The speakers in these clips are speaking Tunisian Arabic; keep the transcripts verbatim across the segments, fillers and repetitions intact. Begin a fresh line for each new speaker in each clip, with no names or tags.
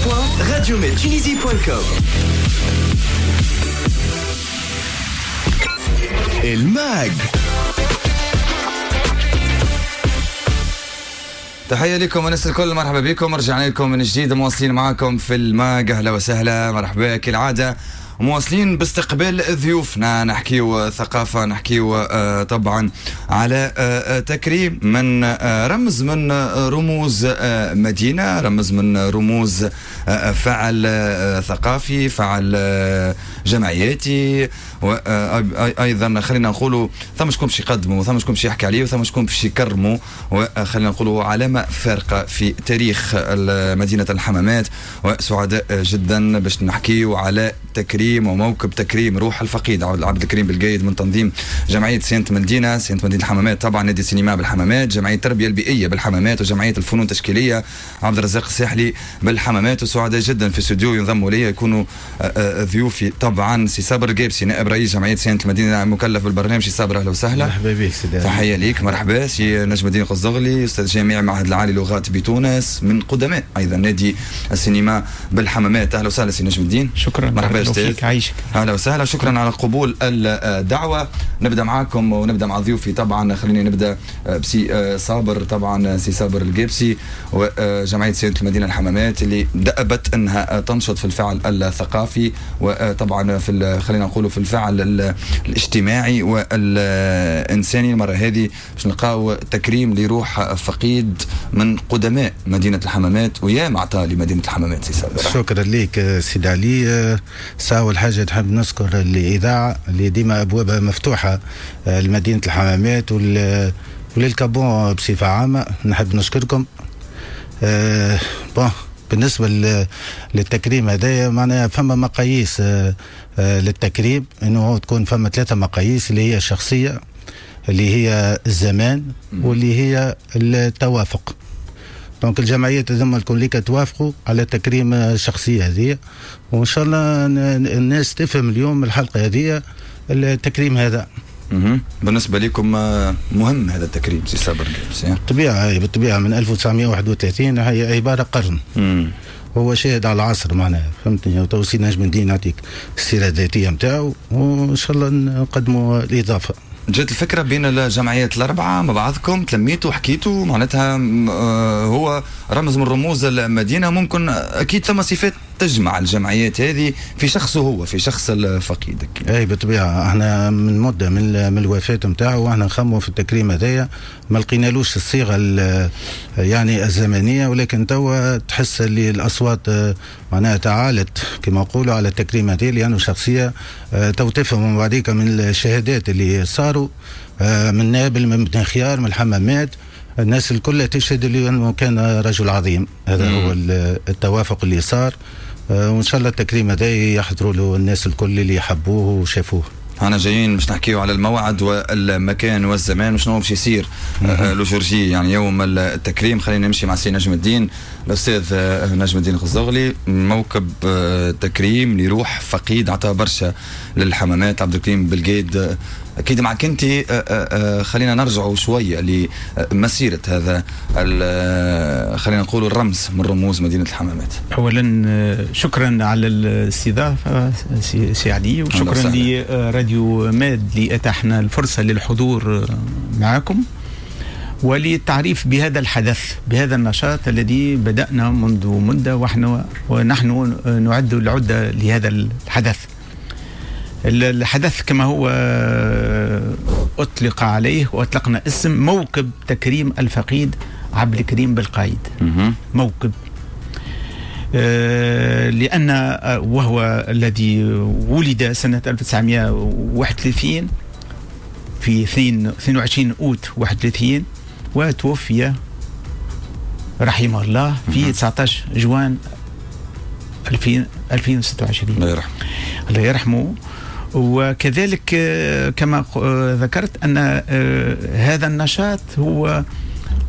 دبليو دبليو دبليو دوت راديو ميد تونيزي دوت كوم. الماج.
تحية لكم الناس الكل، مرحبا بكم، رجعنا لكم من جديد، مواصلين معاكم في الماج. اهلا وسهلا، مرحبا كالعادة، مواصلين باستقبال ضيوفنا. نحكيو ثقافة، نحكيو طبعا على تكريم من رمز من رموز مدينة، رمز من رموز فعل ثقافي، فعل جمعياتي، وايضا خلينا نقولوا ثم شكون باش يقدموا، ثم شكون باش يحكي عليه، وثم شكون باش يكرموا، وخلينا نقولوا علامة فارقة في تاريخ مدينة الحمامات. وسعداء جدا باش نحكيو على تكريم وموكب تكريم روح الفقيد عبد الكريم بالقايد من تنظيم جمعية صيانة مدينة صيانة مدينة الحمامات، طبعا نادي السينما بالحمامات، جمعية التربية البيئية بالحمامات، وجمعية الفنون التشكيلية عبد الرزاق الساحلي بالحمامات. وسعداء جدا في الاستوديو ينضموا لي يكونوا ضيوفي طبعا سي صابر القابسي نائب رئيس جمعية صيانة المدينة مكلف بالبرنامج. سي صابر اهلا وسهلا.
مرحبا بك سيدي.
تحية ليك، مرحبا. سي نجم الدين قزدغلي استاذ جامعي معهد العالي لغات بتونس من قدماء ايضا نادي السينما بالحمامات. اهلا وسهلا سي نجم الدين.
شكرا،
مرحبا استاذ.
عايشك.
اهلا وسهلا، شكرا على قبول الدعوة. نبدا معاكم ونبدا مع ضيوفي طبعا. خليني نبدا بسي صابر، طبعا سي صابر القابسي وجمعية صيانة المدينة الحمامات اللي دأبت انها تنشط في الفعل الثقافي وطبعا في خلينا نقولوا في الفعل الاجتماعي والانساني. المرة هذه باش نلقاو تكريم لروح فقيد من قدماء مدينة الحمامات ويا معطى لمدينة الحمامات. سي صابر
شكرا لك سيدي علي. أول حاجة تحب نذكر الإذاعة اللي ديما أبوابها مفتوحة لمدينة الحمامات وللكابون بصفة عامة، نحب نشكركم. أه bon بالنسبة للتكريم هذايا معناها فما مقاييس أه للتكريم، إنه تكون فما ثلاثة مقاييس اللي هي الشخصية، اللي هي الزمان، واللي هي التوافق. donc الجمعيات هذوما الكل توافقوا على تكريم الشخصية هذه، وان شاء الله الناس تفهم اليوم الحلقة هذه التكريم هذا.
بالنسبة لكم مهم هذا التكريم سي صابر القابسي؟
بالطبيعة بالطبيعة من ألف وتسعمائة وواحد وثلاثين هي عبارة قرن.
مم.
هو شاهد على العصر معناها، فهمتني. تو سي نجم الدين يعطيك السيرة الذاتية نتاعو وان شاء الله نقدموا الاضافة.
جات الفكرة بين الجمعيات الأربعة مع بعضكم، تلميتوا وحكيتوا، معناتها هو رمز من رموز المدينة، ممكن أكيد ثم صفات تجمع الجمعيات هذه في شخصه هو، في شخص الفقيد.
أي بالطبيعة احنا من مدة من, من الوفاة نتاعو واحنا نخموا في التكريم هذايا، ما لقينالوش الصيغة يعني الزمنية، ولكن توا تحس اللي الأصوات معناها تعالت كما نقولوا على التكريم هذا، لأنه شخصية تو تفهم بعديك من الشهادات اللي صاروا من نابل، من بن خيار، من الحمامات، الناس الكل تشهد اللي انه كان رجل عظيم. هذا مم. هو التوافق اللي صار، وان شاء الله التكريم هذا يحضروا له الناس الكل اللي يحبوه وشافوه.
انا جايين باش نحكيو على الموعد والمكان والزمان وشنو باش يصير le jour J يعني يوم التكريم. خلينا نمشي مع سي نجم الدين، الاستاذ نجم الدين القزدغلي. موكب تكريم لروح فقيد عطى برشا للحمامات عبد الكريم بالقايد، اكيد معك انت. خلينا نرجعوا شوية لمسيره هذا خلينا نقولوا الرمز من رموز مدينة الحمامات.
اولا شكرا على الاستضافة سي علي، وشكرا لراديو ماد اللي اتاحنا الفرصة للحضور معكم وللتعريف بهذا الحدث، بهذا النشاط الذي بدأنا منذ مدة ونحن ونحن نعد العدة لهذا الحدث. الحدث كما هو أطلق عليه وأطلقنا اسم موكب تكريم الفقيد عبد الكريم بالقايد. موكب لأن وهو الذي ولد سنة ألف وتسعمائة وواحد وثلاثين في اثنين وعشرين أوت واحد وثلاثين، وتوفي رحمه الله في تسعة عشر جوان ألفين وستة وعشرين.
الله يرحمه.
الله يرحمه. وكذلك كما ذكرت أن هذا النشاط هو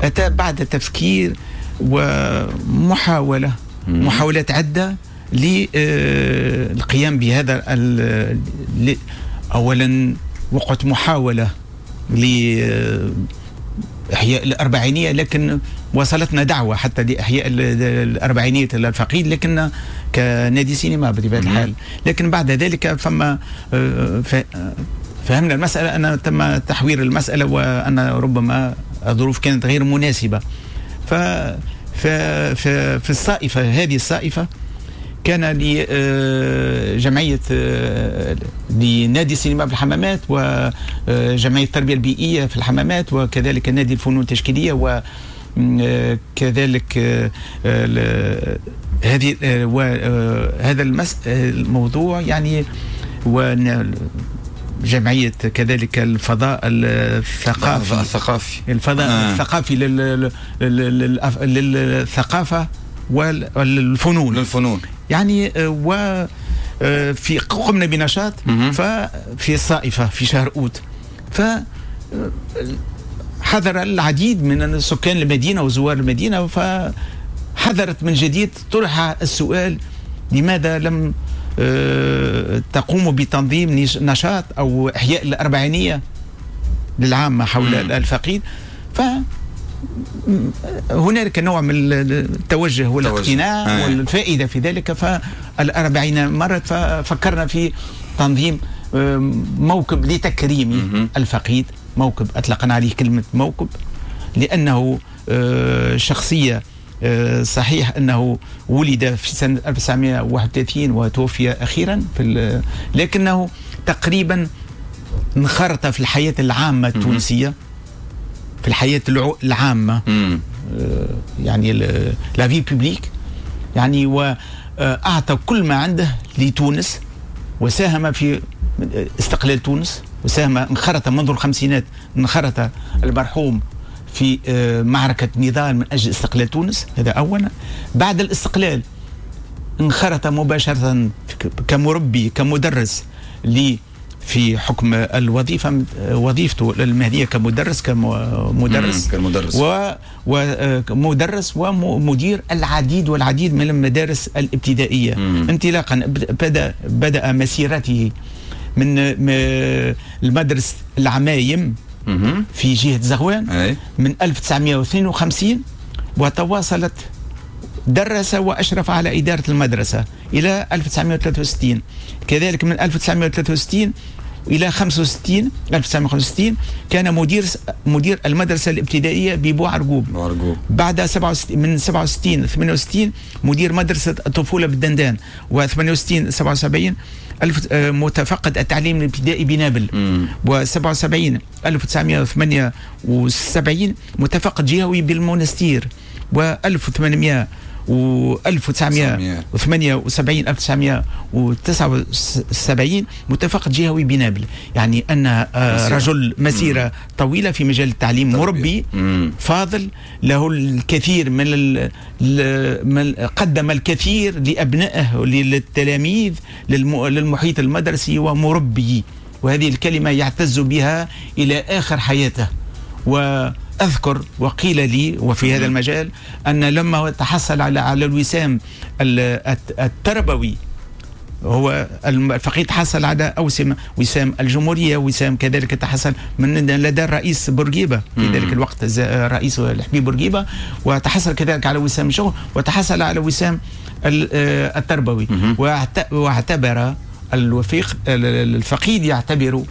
أتى بعد تفكير ومحاولة محاولات عدة للقيام بهذا. أولا وقعت محاولة إحياء الأربعينية، لكن وصلتنا دعوة حتى لإحياء الأربعينية الفقيد، لكن كنادي سينما بطبيعة الحال. لكن بعد ذلك فما فهمنا المسألة أن تم تحوير المسألة، وأن ربما الظروف كانت غير مناسبة. ف في الصائفة هذه الصائفة كان لجمعية لنادي السينما في الحمامات، وجمعية التربية البيئية في الحمامات، وكذلك نادي الفنون التشكيلية، وكذلك هذه وهذا الموضوع يعني، وجمعية كذلك الفضاء الثقافي
الثقافي
الفضاء آه. الثقافي للثقافة والفنون
للفنون
يعني. وفي قمنا بنشاط ففي الصائفة في شهر أوت، فحضر العديد من سكان المدينة وزوار المدينة، فحضرت من جديد طرح السؤال لماذا لم تقوموا بتنظيم نشاط أو إحياء الأربعينية للعامة حول الفقيد. ف هنالك نوع من التوجه والاقتناع آه. والفائدة في ذلك. فالأربعين مرت ففكرنا في تنظيم موكب لتكريم الفقيد، موكب أطلقنا عليه كلمة موكب لأنه شخصية صحيح أنه ولد في سنة ألف وتسعمائة وواحد وثلاثين وتوفي أخيرا في، لكنه تقريبا انخرط في الحياة العامة التونسية، في الحياة العامة يعني la vie publique يعني، وأعطى كل ما عنده لتونس، وساهم في استقلال تونس، وساهم انخرط منذ الخمسينات، انخرط المرحوم في معركة نضال من أجل استقلال تونس، هذا أولا. بعد الاستقلال انخرط مباشرة كمربي كمدرس لي في حكم الوظيفة، وظيفته المهنية كمدرس كمدرس
كمدرس
ومدرس ومدير العديد والعديد من المدارس الابتدائية. مم. انطلاقا بدأ بدأ مسيرته من المدرسة العمايم في جهة زغوان
أي.
من ألف وتسعمائة واثنين وخمسين، وتواصلت درس وأشرف على إدارة المدرسة إلى ألف وتسعمائة وثلاثة وستين. كذلك من ألف وتسعمائة وثلاثة وستين إلى خمسة وستين ألف وتسعمائة وخمسة وستين كان مدير مدير المدرسة الابتدائية ببوعرقوب. بعد سبعة وستين من سبعة وستين ثمانية وستين مدير مدرسة الطفولة بالدندان، وثمانية وستين سبعة وسبعين ألف متفقد التعليم الابتدائي بنابل، وسبعة وسبعين ألف وتسعمائة وثمانية وسبعين متفقد جهوي بالمونستير، وألف وثمانمائة و ألف وتسعمائة وثمانية وسبعين ألف وتسعمائة وتسعة وسبعين متفقد جهوي بنابل. يعني أن رجل مسيرة طويلة في مجال التعليم، مربي فاضل، له الكثير من, ال... قدم الكثير لأبنائه للتلاميذ للمحيط المدرسي، ومربي، وهذه الكلمة يعتز بها إلى آخر حياته. و أذكر وقيل لي وفي هذا المجال أن لما تحصل على على الوسام التربوي، هو الفقيد حصل على أوسمة وسام الجمهورية، وسام كذلك تحصل من لدى الرئيس بورقيبة في ذلك الوقت، الرئيس الحبيب بورقيبة، وتحصل كذلك على وسام الشغل، وتحصل على وسام التربوي. واعتبر الوفيق الفقيد يعتبر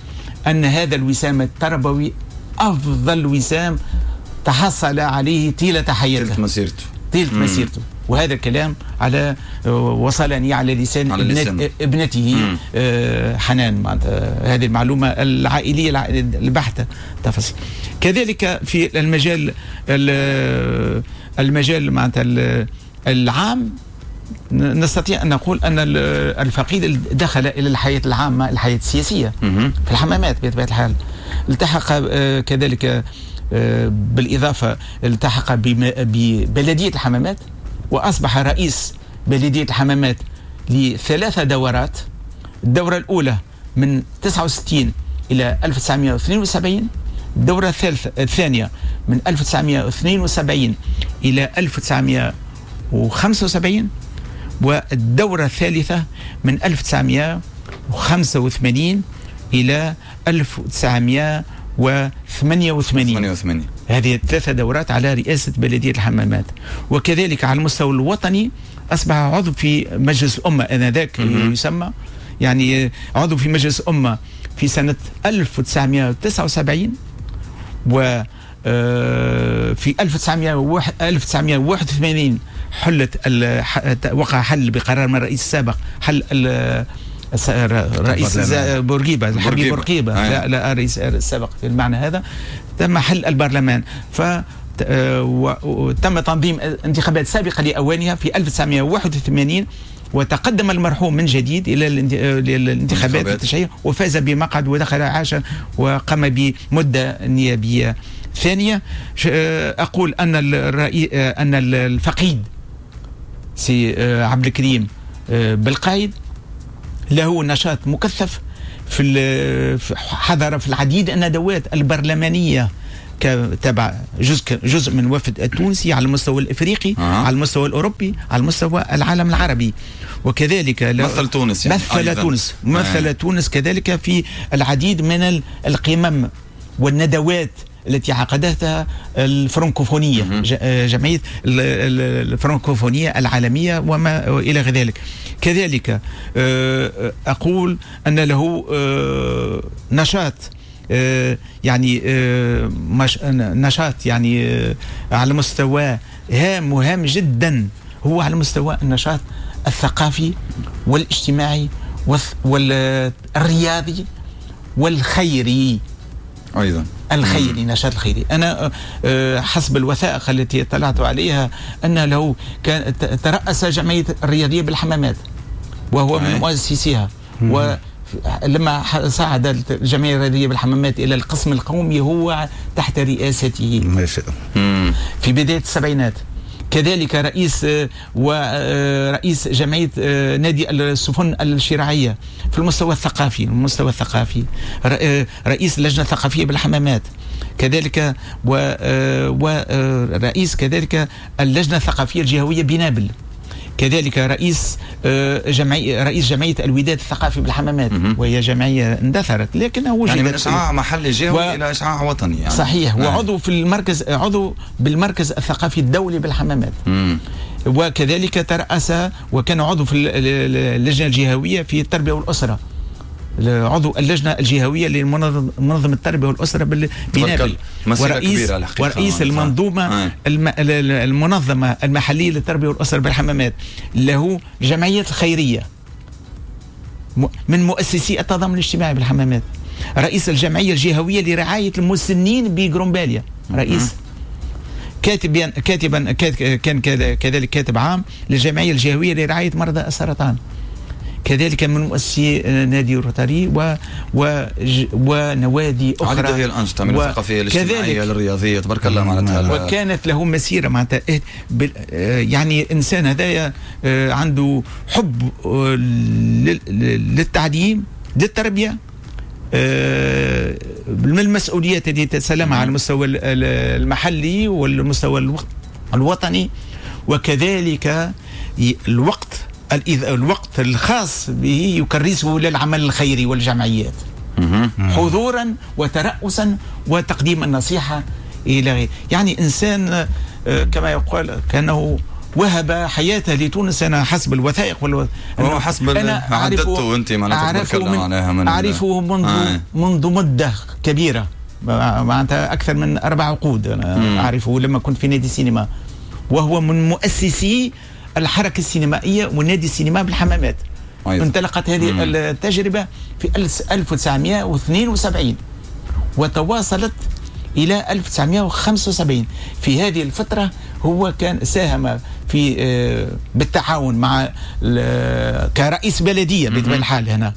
أن هذا الوسام التربوي أفضل وسام تحصل عليه طيلة حياته،
طيلة مسيرته،
طيلة مسيرته. وهذا الكلام على وصلني على لسان, على ابنت ابنته آه حنان، هذه المعلومة العائلية البحتة تفاصيل. كذلك في المجال المجال معناتها العام نستطيع أن نقول أن الفقيد دخل إلى الحياة العامة، الحياة السياسية في الحمامات بطبيعة الحال. التحق كذلك بالإضافة التحق ببلدية الحمامات، وأصبح رئيس بلدية الحمامات لثلاثة دورات. الدورة الأولى من تسعة وستين إلى ألف وتسعمائة واثنين وسبعين، الدورة الثالثة الثانية من ألف وتسعمائة واثنين وسبعين إلى ألف وتسعمائة وخمسة وسبعين، والدورة الثالثة من ألف وتسعمائة وخمسة وثمانين إلى ألف وتسعمائة وثمانية وثمانين. هذه ثلاثة دورات على رئاسة بلدية الحمامات. وكذلك على المستوى الوطني أصبح عضو في مجلس الأمة آنذاك يسمى، يعني عضو في مجلس الأمة في سنة ألف وتسعمائة وتسعة وسبعين، و في ألف وتسعمائة وواحد وثمانين حلت وقع حل بقرار من الرئيس السابق، حل الرئيس بورقيبة، الحبيب بورقيبة، لا لا الرئيس السابق في المعنى هذا، تم حل البرلمان. ف وتم تنظيم انتخابات سابقة لأوانها في ألف وتسعمائة وواحد وثمانين، وتقدم المرحوم من جديد إلى الانتخابات التشريعية وفاز بمقعد ودخل عاش وقام بمدة نيابية ثانية. أقول أن الرئي أن الفقيد سي عبد الكريم بالقايد له نشاط مكثف في حضر في العديد الندوات البرلمانية تبع جزء جزء من وفد التونسي على المستوى الافريقي، آه. على المستوى الاوروبي، على المستوى العالم العربي، وكذلك
مثل تونس، يعني
مثل أيضاً. تونس مثل آه. تونس كذلك في العديد من القمم والندوات التي عقدتها الفرنكوفونية، جمعية الفرنكوفونية العالمية وما إلى ذلك. كذلك أقول أن له نشاط يعني نشاط يعني على مستوى هام وهام جدا، هو على مستوى النشاط الثقافي والاجتماعي والرياضي والخيري
أيضا،
الخيري، نشاط الخيري. أنا حسب الوثائق التي اطلعت عليها أن له كان ترأس جمعية الرياضية بالحمامات وهو من مؤسسيها، ولما صعد الجمعية الرياضية بالحمامات إلى القسم القومي هو تحت رئاسته في بداية السبعينات. كذلك رئيس ورئيس جمعية نادي السفن الشراعية في المستوى الثقافي، المستوى الثقافي رئيس اللجنة الثقافية بالحمامات كذلك، ورئيس كذلك اللجنة الثقافية الجهوية بنابل، كذلك رئيس جمعية رئيس جمعية الوداد الثقافي بالحمامات، وهي جمعية اندثرت لكنها وجدت،
يعني من إشعاع محلي جهوي و... إلى إشعاع وطني يعني.
صحيح. نعم. وعضو في المركز، عضو بالمركز الثقافي الدولي بالحمامات.
مم.
وكذلك ترأس وكان عضو في اللجنة الجهوية في التربية والأسرة، عضو اللجنة الجهوية لمنظمة التربية والأسرة بنابل، ورئيس ورئيس المنظومة الم... المنظمة المحلية للتربية والأسرة بالحمامات. له جمعية الخيرية من مؤسسي التضامن الاجتماعي بالحمامات، رئيس الجمعية الجهوية لرعاية المسنين بغرومباليا، رئيس كاتبا كاتبا كان كذلك كاتب عام للجمعية الجهوية لرعاية مرضى السرطان، كذلك من مؤسسي نادي روتاري و... و... ونوادي أخرى.
عدد هي الأنشطة من الثقافية الاجتماعية للرياضية، تبارك الله معناتها.
وكانت له مسيرة معناتها يعني إنسان هذايا عنده حب للتعليم، للتربية، من المسؤوليات التي تتسلمها على المستوى المحلي والمستوى الوطني، وكذلك الوقت الوقت الخاص به يكرسه للعمل الخيري والجمعيات، حضورا وترأسا وتقديم النصيحة إلى غيره. يعني إنسان كما يقال كأنه وهب حياته لتونس. أنا حسب الوثائق والو...
هو حسب أنا عددته أنت
أعرفه من... من أعرفه منذ آه. منذ مدة كبيرة، معناتها أكثر من أربع عقود أنا مم. أعرفه لما كنت في نادي السينما، وهو من مؤسسي الحركة السينمائية ونادي السينما بالحمامات. أيضا. انطلقت هذه مم. التجربة في ألف وتسعمائة واثنين وسبعين وتواصلت إلى ألف وتسعمائة وخمسة وسبعين. في هذه الفترة هو كان ساهم في بالتعاون مع كرئيس بلدية بطبيعة الحال هنا،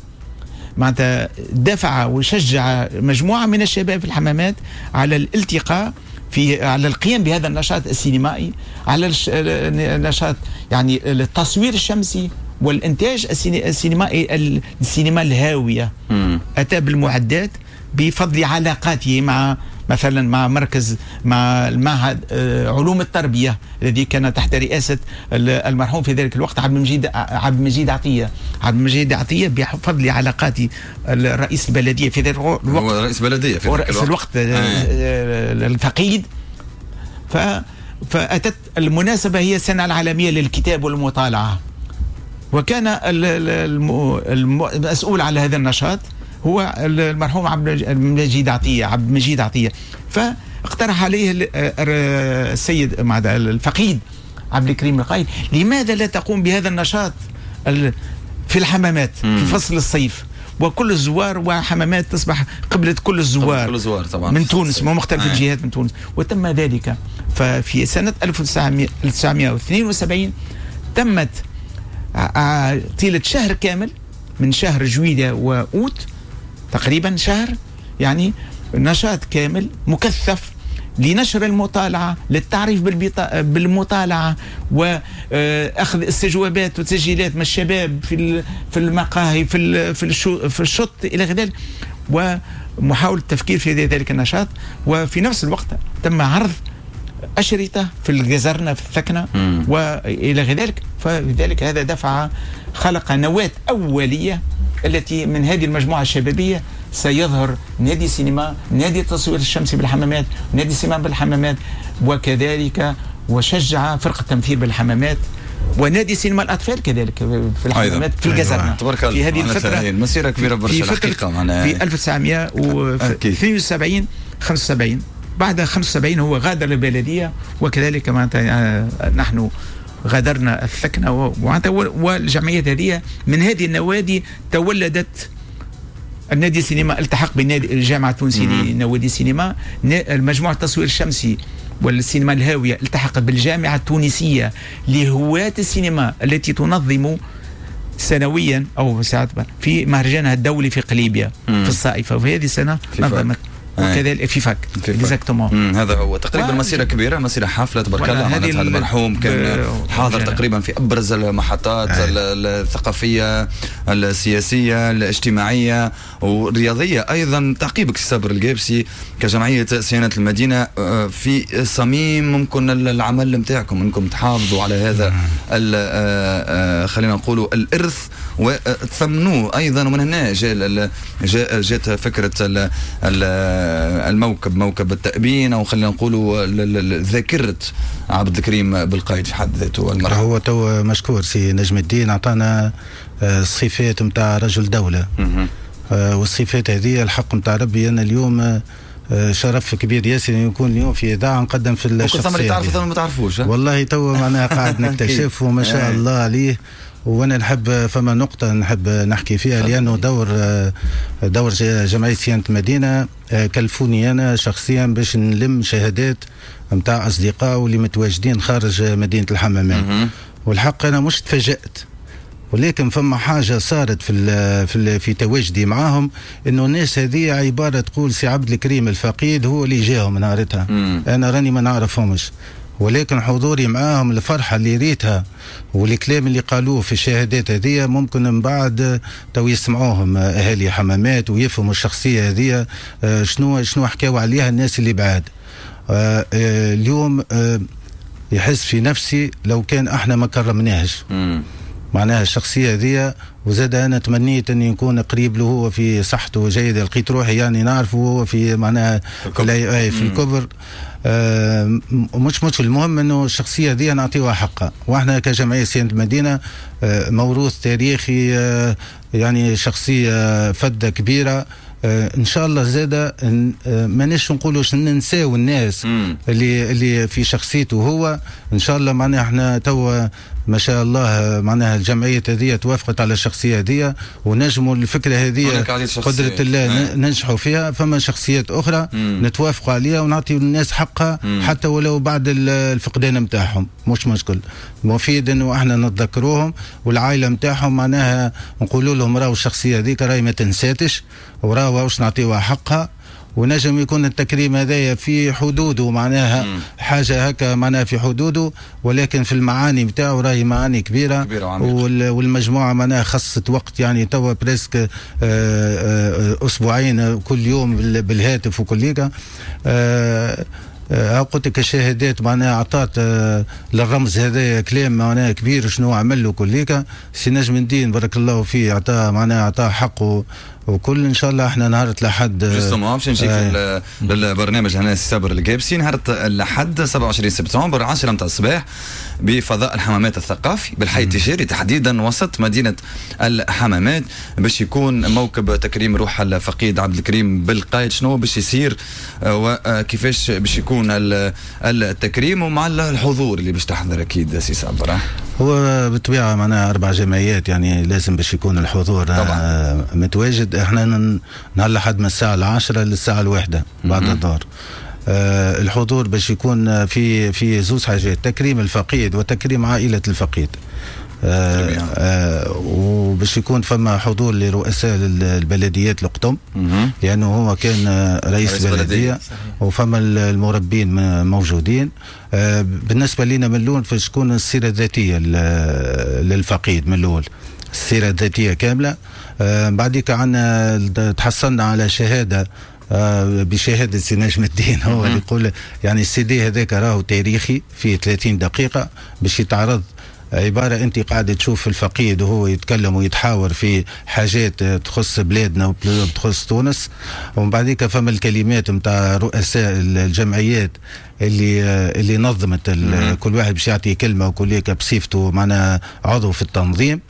معناتها دفع وشجع مجموعة من الشباب في الحمامات على الالتقاء في على القيام بهذا النشاط السينمائي، على النشاط يعني التصوير الشمسي والإنتاج السينمائي، السينما الهاوية.
مم.
أتى بالمعدات بفضل علاقاته مع مثلا مع مركز مع المعهد علوم التربية الذي كان تحت رئاسة المرحوم في ذلك الوقت عبد المجيد عبد المجيد عطية. عبد المجيد عطية بفضل علاقاته الرئيس البلدية في ذلك الوقت،
هو رئيس بلدية في ذلك
الوقت, الوقت آه. الفقيد ف فأتت المناسبة هي السنة العالمية للكتاب والمطالعة، وكان المسؤول على هذا النشاط هو المرحوم عبد المجيد عطية، عبد المجيد عطية. فاقترح عليه السيد الفقيد عبد الكريم القايد، لماذا لا تقوم بهذا النشاط في الحمامات في فصل الصيف، وكل الزوار، وحمامات تصبح قبلة كل الزوار،
كل الزوار طبعا
من تونس من مختلف الجهات من تونس. وتم ذلك. ففي سنة ألف وتسعمائة واثنين وسبعين تمت طيلة شهر كامل من شهر جويلية وأوت تقريبا شهر، يعني نشاط كامل مكثف لنشر المطالعة، للتعريف بالمطالعة، وأخذ استجوابات وتسجيلات من الشباب في في المقاهي، في في الشط إلى غير ذلك، ومحاولة التفكير في ذلك النشاط. وفي نفس الوقت تم عرض أشرطة في الجزرنة في الثكنة وإلى غير ذلك. فلذلك هذا دفع، خلق نواة أولية التي من هذه المجموعة الشبابية سيظهر نادي سينما، نادي التصوير الشمسي بالحمامات، نادي سينما بالحمامات، وكذلك وشجع فرقة التمثيل بالحمامات، ونادي سينما الأطفال كذلك في الحمامات في الجزرنة. في هذه الفترة
مسيرة كبيرة برشا الحقيقة معناها.
في ألف وتسعمائة واثنين وسبعين خمسة وسبعين، بعد خمسة وسبعين هو غادر البلدية، وكذلك معناتها نحن غادرنا الثكنة والجمعية هذه. من هذه النوادي تولدت النادي السينما، التحق بالنادي الجامعة التونسية لنوادي السينما، المجموعة التصوير الشمسي والسينما الهاوية التحقت بالجامعة التونسية لهواة السينما التي تنظم سنويا أو ساعات في مهرجانها الدولي في قليبيا في الصائفة، وفي هذه السنة نظمت وكذلك في فاك exactement.
هذا هو تقريبا مسيره كبيرة، مسيره حافلة تبارك الله. معناتها المرحوم كان حاضر تقريبا في ابرز المحطات الثقافية السياسية الاجتماعية والرياضيه ايضا. تعقيبك صابر القابسي كجمعية صيانة المدينة في صميم ممكن العمل نتاعكم انكم تحافظوا على هذا خلينا نقولوا الارث وتثمنوه ايضا، ومن هنا جاء جات فكرة الموكب، موكب التأبين، او خلينا نقولوا ذاكرة عبد الكريم بالقايد في حد ذاته المرحوم.
هو تو مشكور سي نجم الدين اعطانا الصفات نتاع رجل دولة، والصفات هذه الحق نتاع ربي. انا اليوم شرف كبير ياسر يكون اليوم في اذاعة نقدم في الشخصية.
ممكن تعرفوا ما تعرفوش
والله تو معناها قاعد نكتشف وما شاء الله عليه. وانا نحب فما نقطة نحب نحكي فيها، لانه دور دور جمعية صيانة المدينة كلفوني انا شخصيا باش نلم شهادات نتاع اصدقاء واللي متواجدين خارج مدينة الحمامات. والحق انا مش تفاجأت، ولكن فما حاجة صارت في ال في ال في تواجدي معاهم، انه الناس هذه عبارة تقول سي عبد الكريم الفقيد هو اللي جاهم نهارتها، انا راني ما نعرفهمش، ولكن حضوري معاهم الفرحة اللي ريتها والكلام اللي قالوه في الشهادات هذه ممكن من بعد تو يسمعوهم اهالي حمامات ويفهموا الشخصية هذه شنو شنو حكاوا عليها الناس اللي بعاد. اليوم يحس في نفسي لو كان احنا ما كرمناهش معناها الشخصية هذه. وزاد انا تمنيت اني نكون قريب له هو في صحته جيدة، لقيت روحي يعني نعرفه هو في معناها في, في الكبر. آه مش مش المهم انه الشخصية دي نعطيوها حقها، واحنا كجمعية صيانة المدينة آه موروث تاريخي، آه يعني شخصية فده كبيرة. آه ان شاء الله زاده آه ماناش نقولوا ننساو الناس مم. اللي اللي في شخصيته هو. ان شاء الله معناها احنا توا ما شاء الله معناها الجمعية هذه توافقت على الشخصية هذه ونجموا الفكرة هذه قدره الله ننجحوا فيها. فما شخصيات اخرى نتوافقوا عليها ونعطي الناس حقها مم. حتى ولو بعد الفقدان نتاعهم مش مشكل. مفيد انه احنا نتذكروهم والعائلة نتاعهم معناها نقولوا لهم راهو الشخصية هذيك راهي ما تنساتش وراهو واش نعطيوها حقها، ونجم يكون التكريم هذايا في حدوده معناها مم. حاجة هكا معناها في حدوده، ولكن في المعاني بتاعه راهي معاني كبيرة, كبيرة والمجموعة معناها خصت وقت يعني توا presque اسبوعين كل يوم بالهاتف وكل هيك. قلت لك الشهادات معناها اعطت للرمز هذا كلام معناها كبير شنو عمل له كليكا. سي نجم الدين بارك الله فيه اعطاه معناها اعطاه حقه وكل. ان شاء الله احنا نهار الاحد
justement باش نجيك آه. للبرنامج هنا سي صابر القابسي نهار الاحد سبعة وعشرين سبتمبر عشرة متاع الصباح بفضاء الحمامات الثقافي بالحي التجاري تحديدا وسط مدينة الحمامات باش يكون موكب تكريم روح الفقيد عبد الكريم بالقايد. شنو باش يصير وكيفاش باش يكون التكريم ومع الحضور اللي باش تحضر اكيد سي صابر؟
هو بالطبيعة معناها اربع جمعيات يعني لازم باش يكون الحضور طبعا متواجد. احنا نهار الاحد من الساعة العاشرة للساعة الواحدة بعد الظهر. آه الحضور باش يكون في في زوج حاجات، تكريم الفقيد وتكريم عائلة الفقيد. آه آه وباش يكون فما حضور لرؤساء البلديات القطم لانه هو كان رئيس, رئيس بلديه, بلدية. وفما المربين موجودين. آه بالنسبة لنا من الاول فاش تكون السيرة الذاتية للفقيد من الاول، السيرة الذاتية كاملة. آه بعديك عندنا تحصلنا على شهادة آه بشهادة سي نجم الدين هو اللي يقول يعني السي دي هذاك راهو تاريخي فيه ثلاثين دقيقة باش يتعرض، عبارة أنت قاعدة تشوف الفقيد وهو يتكلم ويتحاور في حاجات تخص بلادنا وتخص تونس. ومن بعديك فما الكلمات نتاع رؤساء الجمعيات اللي اللي نظمت كل واحد باش يعطي كلمة وكل بصفته معنا عضو في التنظيم.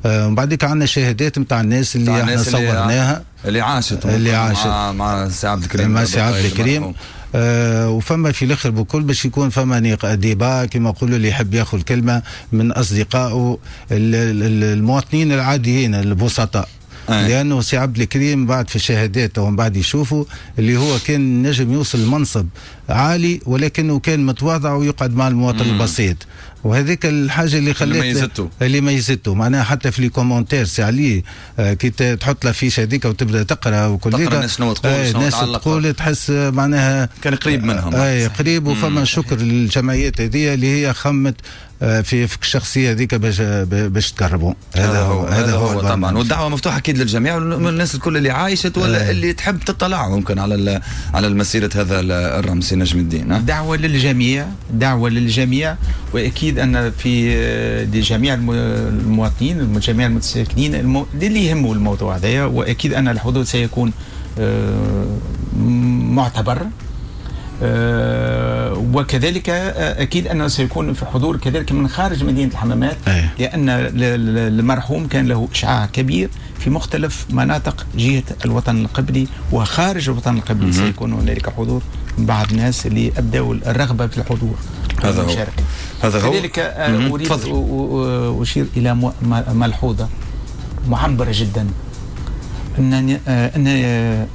ومن بعديك عندنا شهادات نتاع الناس اللي احنا صورناها
اللي عاشت
اللي عاشت
مع, مع سي عبد الكريم
مع سي عبد الكريم. آه وفما في الاخر بكل باش يكون فما débat كما نقولوا اللي يحب ياخذ كلمة من اصدقائه المواطنين العاديين البسطاء. آه. لانه سي عبد الكريم بعد في الشهادات ومن بعد يشوفوا اللي هو كان نجم يوصل لمنصب عالي ولكنه كان متواضع ويقعد مع المواطن البسيط، وهذيك الحاجة اللي خلت
اللي ميزته
اللي ميزته معناها حتى في les commentaires سي علي آه كي تحط l'affiche هذيك وتبدا تقرا وكل
تقرا الناس شنو تقول
آه
شنو
الناس تقول تحس معناها
كان قريب منهم.
اي قريب. وفما شكر للجمعيات هذه اللي هي خمت في في الشخصية هذيك باش باش تقربوا.
هذا هو هذا هو, هو طبعا. والدعوة مفتوحة اكيد للجميع والناس الكل اللي عايشت ولا آه. اللي تحب تطلع ممكن على على المسيرة هذا الرمز نجم الدين.
دعوه للجميع، دعوه للجميع، واكيد ان في لجميع المواطنين جميع المتساكنين اللي يهموا الموضوع هذايا، واكيد ان الحضور سيكون معتبر. أه وكذلك أكيد أنه سيكون في حضور كذلك من خارج مدينة الحمامات.
أيه.
لأن المرحوم كان له إشعاع كبير في مختلف مناطق جهة الوطن القبلي وخارج الوطن القبلي. سيكون هنالك حضور من بعض الناس اللي أبدوا الرغبة في الحضور.
هذا هو. هذا هو.
كذلك أريد أشير إلى ملحوظة معبرة جدا، أن أن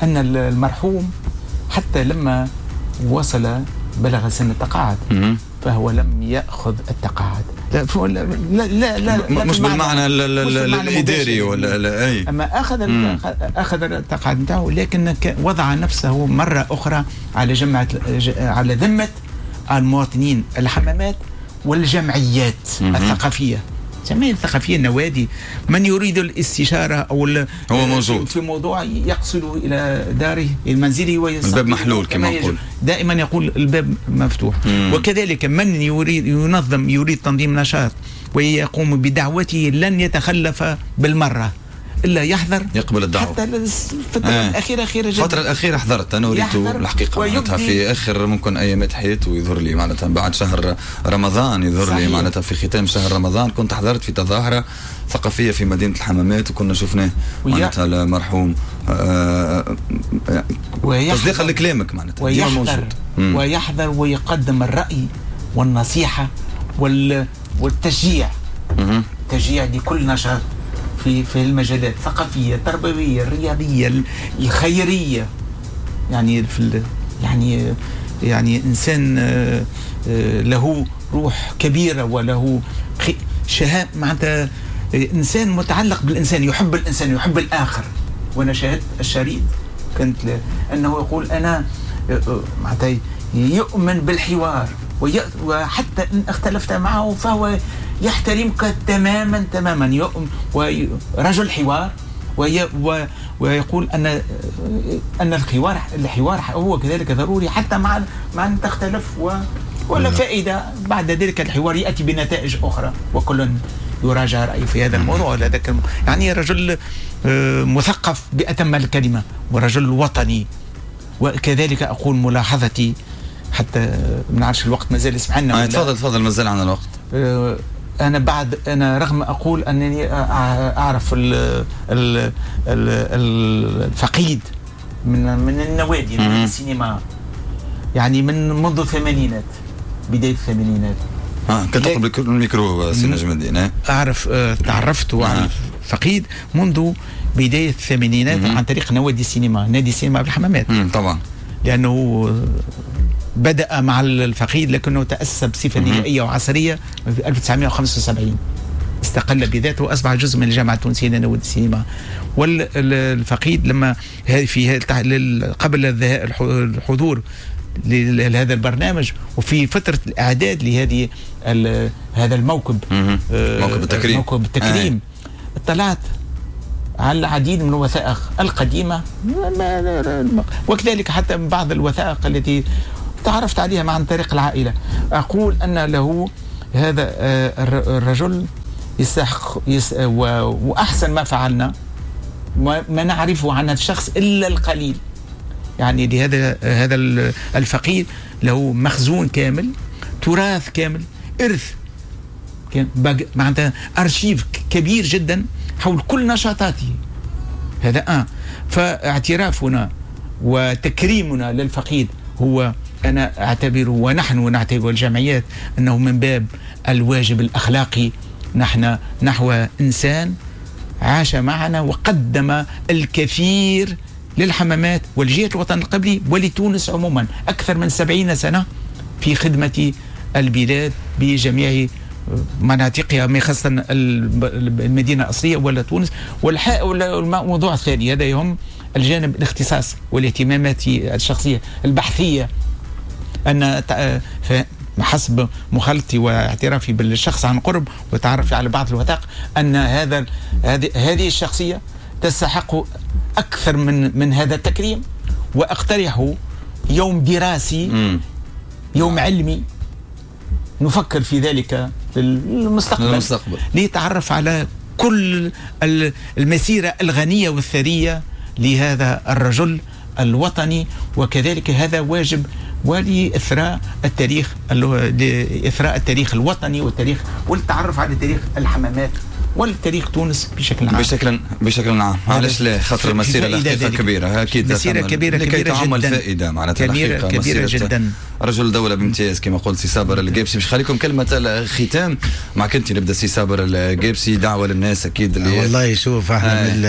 أن المرحوم حتى لما وصل بلغ سن التقاعد فهو لم يأخذ التقاعد. لا لا لا, لا
مش بالمعنى الإداري ولا لا أي.
أما أخذ أخذ التقاعد نتاعه، لكن وضع نفسه مرة أخرى على جمعة على ذمة المواطنين الحمامات والجمعيات الثقافية. الجمعية الثقافية، النوادي، من يريد الاستشارة أو
هو موجود
في موضوع يقصد إلى داره إلى منزله ويستطيع.
الباب محلول كما يقول
دائما، يقول الباب مفتوح. مم. وكذلك من يريد ينظم يريد تنظيم نشاط ويقوم بدعوته لن يتخلف بالمرة إلا يحضر،
يقبل الدعوة
حتى الفترة آه. الأخيرة أخيرة جدا.
الفترة الأخيرة حضرت أنا وريته الحقيقة معناتها في آخر ممكن أيامات حياته يظهر لي معناتها بعد شهر رمضان يظهر لي معناتها في ختام شهر رمضان كنت حضرت في تظاهرة ثقافية في مدينة الحمامات وكنا شفناه معناتها المرحوم. آه تصديقا لكلامك معناتها
ويحضر ويحضر ويقدم الرأي والنصيحة وال والتشجيع تشجيع لكل نشاط في في المجالات الثقافية التربوية الرياضية الخيرية. يعني في يعني يعني انسان له روح كبيرة وله شهامه، معناتها انسان متعلق بالانسان، يحب الانسان يحب الاخر. وانا شاهدت الشريط كنت انه يقول انا معناتها يؤمن بالحوار، وحتى ان اختلفت معه فهو يحترمك تماما تماما، يؤمن ورجل حوار وي ويقول أن أن الحوار الحوار هو كذلك ضروري حتى مع مع أن تختلف و ولا فائدة بعد ذلك الحوار يأتي بنتائج أخرى وكل يراجع رأيه في هذا الموضوع ولا ذاك الموضوع. يعني رجل مثقف بأتم الكلمة ورجل وطني. وكذلك أقول ملاحظتي حتى ما نعرفش الوقت مازال يسمح لنا.
تفضل تفضل مازال عندنا الوقت.
أنا بعد أنا رغم أقول أنني أعرف ال ال الفقيد من من النوادي من السينما يعني من منذ الثمانينات بداية الثمانينات.
اه كنت تقرب الميكرو سي نجم الدين.
أعرف تعرفت على الفقيد منذ بداية الثمانينات عن طريق نوادي السينما، نادي السينما بالحمامات.
طبعا
لأنه بدأ مع الفقيد لكنه تأسس بصفة نهائية وعصرية في ألف وتسعمائة وخمسة وسبعين، استقل بذاته وأصبح جزء من الجامعة التونسية لنوادي السينما. والفقيد لما في قبل الحضور لهذا البرنامج وفي فترة الإعداد لهذه هذا الموكب
موكب التكريم
موكب التكريم اطلعت على العديد من الوثائق القديمة وكذلك حتى بعض الوثائق التي تعرفت عليها عن طريق العائلة. أقول أن له هذا الرجل يستحق وأحسن ما فعلنا ما نعرفه عن هذا الشخص إلا القليل. يعني لهذا هذا الفقير له مخزون كامل، تراث كامل، إرث معناتها أرشيف كبير جدا حول كل نشاطاته. هذا آه فاعترافنا وتكريمنا للفقيد هو أنا أعتبره ونحن نعتبر الجمعيات أنه من باب الواجب الأخلاقي نحن نحو إنسان عاش معنا وقدم الكثير للحمامات والجهة الوطن القبلي ولتونس عموما، أكثر من سبعين سنة في خدمة البلاد بجميع مناطقها، خاصة المدينة الأصلية ولا تونس. والموضوع الثاني هذا يهم الجانب الاختصاص والاهتمامات الشخصية البحثية، أن حسب مخالطتي واعترافي بالشخص عن قرب وتعرفي على بعض الوثائق أن هذا هذه الشخصية تستحق أكثر من من هذا التكريم، وأقترح يوم دراسي م. يوم علمي نفكر في ذلك للمستقبل, للمستقبل. ليتعرف على كل المسيرة الغنية والثرية لهذا الرجل الوطني، وكذلك هذا واجب ولإثراء التاريخ، لإثراء التاريخ الوطني والتاريخ والتعرف على تاريخ الحمامات والتاريخ تونس بشكل عام.
بشكل بشكل عام، علاش لا؟ خاطر المسيرة الحقيقة كبيرة، اكيد
مسيره كبيرة كبيرة
جدا الفائدة معناتها
كبيرة كبيرة جدا.
رجل دولة بامتياز كما قلت سي صابر القابسي. باش خليكم كلمة الختام معك انت، نبدا سي صابر القابسي، دعوه للناس اكيد اللي
والله شوف احنا آه. من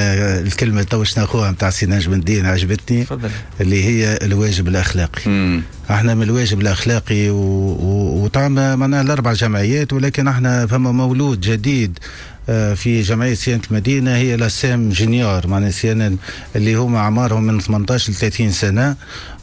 الكلمة تو ناخوها نتاع سي نجم الدين عجبتني،
تفضل،
اللي هي الواجب الاخلاقي.
مم.
احنا من الواجب الاخلاقي وطبعا معناها الاربع جمعيات، ولكن احنا فما مولود جديد في جمعية صيانة المدينة هي لاسام junior، معناها صيانة اللي هما اعمارهم من ثمانية عشر ل ثلاثين سنة.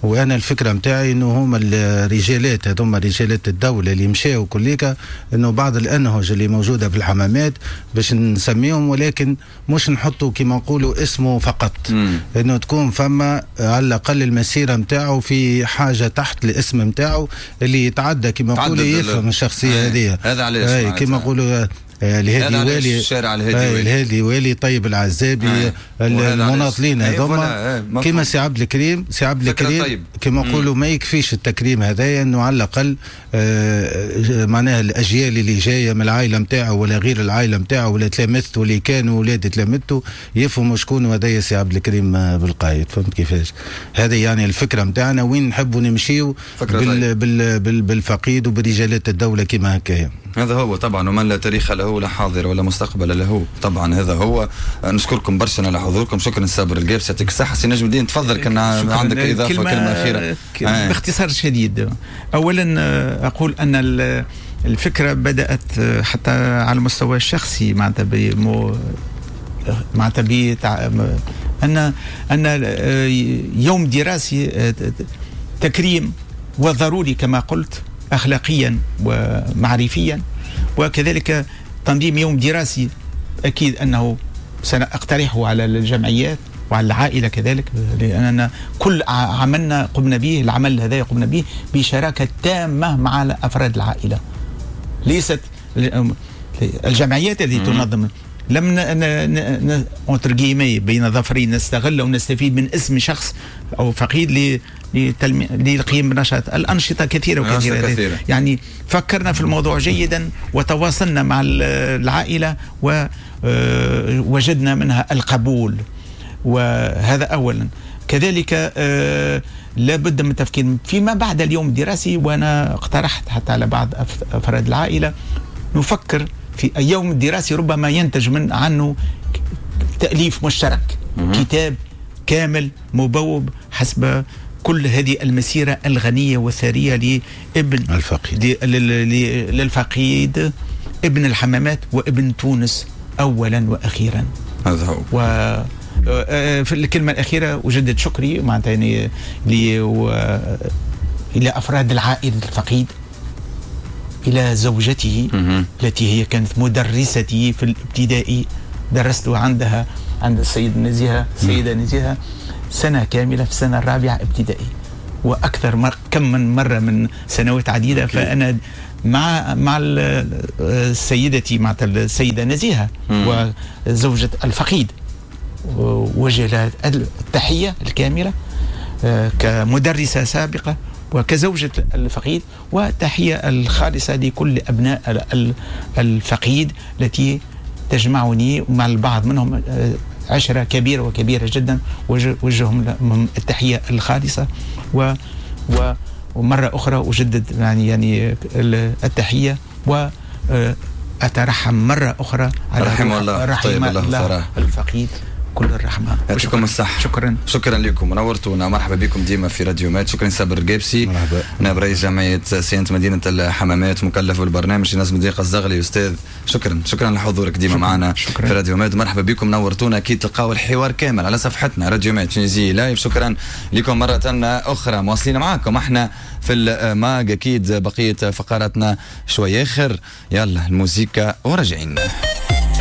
وانا الفكرة نتاعي انه هما الرجالات هذوما رجالات الدولة اللي مشاو كليكا، انه بعض الانهج اللي موجودة في الحمامات باش نسميهم، ولكن مش نحطوا كما نقولوا اسمه فقط،
مم.
انه تكون فما على الاقل المسيرة نتاعو في حاجة تحت الاسم نتاعو اللي يتعدى كما نقولوا يفهم الشخصية هذه.
هذا علاش
كما نقولوا الهادي والي،
الشارع الهادي والي،
الهادي والي طيب العزابي، آه. المناضلين هذوما كما سي عبد الكريم، سي عبد الكريم
طيب.
كما نقولوا ما يكفيش التكريم هذايا، انه على الاقل آه معناها الاجيال اللي جاية من العائلة نتاعو ولا غير العائلة نتاعو ولا تلامذته اللي كانوا ولاد تلامذته يفهموا شكون هذايا سي عبد الكريم بالقايد. فهمت كيفاش؟ هذه يعني الفكرة نتاعنا وين نحبوا نمشيو بال بال بال بالفقيد وبرجالات الدولة كما هكايا.
هذا هو طبعا، ومن لا تاريخ له لا حاضر ولا مستقبل له طبعا. هذا هو. نشكركم برشا على حضوركم. شكرا صابر القابسي، يعطيك الصحة. سي نجم الدين تفضل، كان عندك إضافة كلمة, كلمة أخيرة.
آه. باختصار شديد، أولا أقول أن الفكرة بدأت حتى على المستوى الشخصي معناتها بمو معناتها بتع... أن أن يوم دراسي تكريم وضروري كما قلت أخلاقيا ومعرفيا، وكذلك تنظيم يوم دراسي أكيد أنه سنقترحه على الجمعيات وعلى العائلة كذلك، لأننا كل عملنا قمنا به، العمل هذا قمنا به بشراكة تامة مع أفراد العائلة، ليست الجمعيات التي تنظم. لم entre guillemets بين ظفرين نستغل ونستفيد من اسم شخص أو فقيد للقيام بنشاط. الأنشطة كثيرة وكثيرة كثيرة. يعني فكرنا في الموضوع جيدا وتواصلنا مع العائلة ووجدنا منها القبول، وهذا أولا. كذلك لابد من التفكير فيما بعد اليوم الدراسي، وأنا اقترحت حتى على بعض أفراد العائلة نفكر في اليوم الدراسي ربما ينتج من عنه تأليف مشترك، كتاب كامل مبوب حسب كل هذه المسيرة الغنية والثرية لابن
الفقيد،
للفقيد ابن الحمامات وابن تونس أولا وأخيرا.
هذا هو.
و في الكلمة الأخيرة أجدد شكري معناتها يعني إلى أفراد العائلة الفقيد، إلى زوجته التي هي كانت مدرستي في الابتدائي، درست عندها عند السيد نزيهة السيدة نزيهة سنة كاملة في السنة الرابعة ابتدائي، وأكثر مر كم من مرة من سنوات عديدة. فأنا مع مع سيدتي مع السيدة نزيهة وزوجة الفقيد وجه لها التحية الكاملة كمدرسة سابقة وكزوجة الفقيد، وتحية الخالصة لكل أبناء الفقيد التي تجمعني مع البعض منهم عشرة كبيرة وكبيرة جدا، وجههم لهم التحية الخالصة. و ومرة أخرى أجدد يعني يعني التحية وأترحم مرة أخرى على
رحم الله
رحم
طيب الله,
الله الفقيد كل الرحمة.
يعطيكم الصحة.
شكرا
شكرا لكم، نورتونا، مرحبا بكم ديما في راديو ماد. شكرا صابر القابسي،
مرحبا،
نائب رئيس جمعية صيانة مدينة الحمامات، مكلف بالبرنامج نجم الدين الزغلي. أستاذ شكرا شكرا لحضورك ديما معنا في راديو ماد، مرحبا بكم، نورتونا. أكيد تلقاو الحوار كامل على صفحتنا راديو ماد Tunisie live. شكرا لكم مرة أخرى، مواصلين معاكم احنا في الماج، أكيد بقية فقراتنا شوي آخر. يلا الموسيقى وراجعين.